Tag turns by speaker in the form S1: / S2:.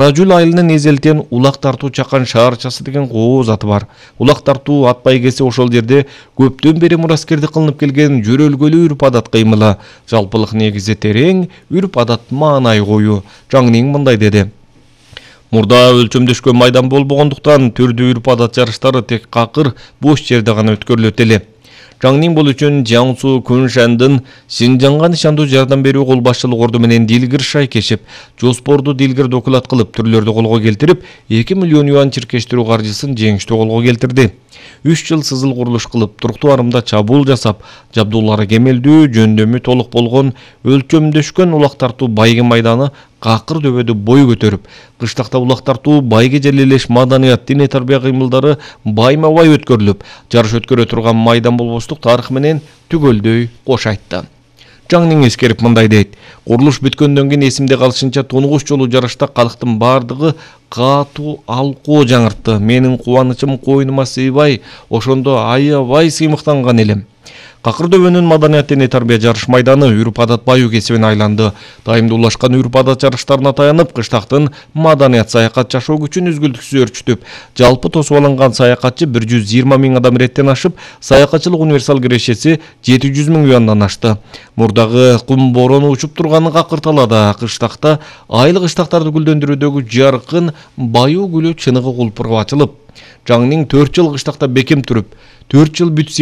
S1: Каражүл айылынын эзелтен улак тартуу чакан шаарчасы деген кооз аты бар. Улак тартуу ат байгеси ошол жерде көптөн бери мураскерди кылынып келген жөрөлгөлүү үрп адат кыймылы. Жалпылык негизи терең, үрп адат маанай коюу. Жаңнин мындай деди. Мурда өлчөмдөшкөн майдан болбогондуктан түрдүү үрп адат жарыштары тек какыр бош жерде гана өткөрүлөт эле. Жаңнин бул үчүн Жаңсу Күншандын Синжанга нишандуу жардам берүү кол башчылык орду менен дилгир шайкешип, жоспорду дилгир докулат кылып, түрлөрдү колго келтирип, 2 миллион юан чиркештирүү каржысын жеңиштүү колго келтирди. 3 жыл сызыл курулуш кылып, туруктуу арымда чабуул жасап, жабдуулары кемелдүү, жөндөмү толук болгон өлчөмдөшкөн улак тартуу байге майданы какыр дөбөдө бой көтөрүп, кыштакта улак тартуу байге желелеш маданият, диний тарбия кыймылдары байма-бай өткөрүлүп, жарыш өткөрө турган майдан болбоштук тарых менен түгөлдөй кош айтты. Жаңнин эскерип мындай дейт. Курулуш бүткөндөн кийин эсимде калышынча тунугуш жолу жарышта калктын бардыгы катуу алкоо жаңыртты. Менин кубанычым койнума сыйбай, ошондо аябай сыймыктанган элем. Какыр дөбөнүн маданият диний тарбия жарыш майданы үрп адат баюу кесибине айланды. Дайымдуулашкан үрп адат жарыштарына таянып, кыштактын маданият саякат жашоо күчүн үзгүлтүксүз өрчүтүп, жалпы тосуп алынган саякатчы 120 000 адам иреттен ашып, саякатчылык универсал кирешеси 700 000 юандан ашты. Мурдагы кум борону учуп турганы какырталада, кыштакта айлык кыштактарды гүлдөндүрүүдөгү жаркын баюу гүлү чыныгы кулпуруп ачылып, Жаңнин 4 жыл кыштакта бекем туруп, 4 жыл бүтсө